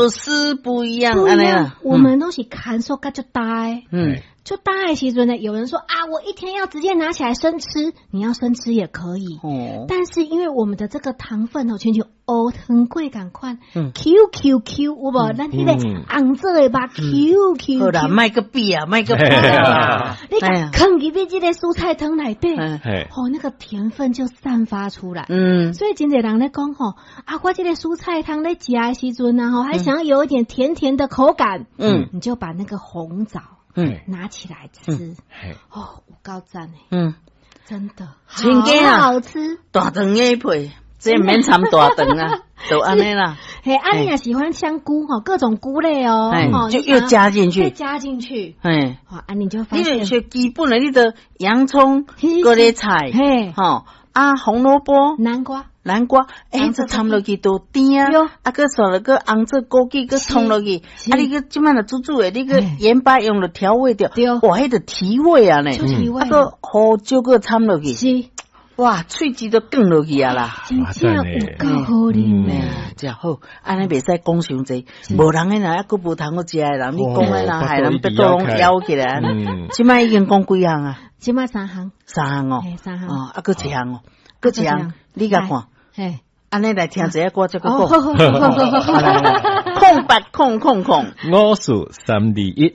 絲不一樣，不一樣按呢啦，我們攏是牽縮較足焦的。足焦的時陣呢，有人說啊，我一天要直接拿起來生吃，你要生吃也可以。但是因為我們的這個糖分哦，親像烏糖粿仝款，Q Q Q 有無？咱彼個紅棗的肉 Q Q 好啦， Q，莫閣比啊，莫閣比啊，你共囥入去這個蔬菜湯內底，哦，那個甜分就散發出來。所以真濟人咧講吼，啊，我這個蔬菜湯咧食的時陣啊，吼，還想要有一點甜甜的口感，你就把那個紅棗拿起來吃，哦，有夠讚的，真的，親家啊好好吃。大腸的配，這毋免摻大腸啊，就按呢啦。嘿，啊，你也喜歡香菇吼，各種菇類哦，就又加進去，再加進去，好，啊，你就發現，你就是基本的，你就洋蔥、高麗菜，吼，啊，紅蘿蔔、南瓜、南瓜，欸，這摻落去都甜啊，啊，閣刷落閣紅棗枸杞閣蔥落去，啊，你閣這擺若煮煮的，你閣鹽巴用了調味掉，哇，彼個提味啊呢，提味啊，閣胡椒閣摻落去，哇，喙舌都轉落去啊啦！真正有夠好啉的，真好，按呢袂使講傷濟，無人彼若猶閣無通好食的人，你講彼若害人腹肚攏枵起來。這擺已經講幾項啊？這擺三項。三項哦，三項。哦，啊，閣一項哦，閣一項，你共看。按呢來聽一下，我再閣講。080000 54321。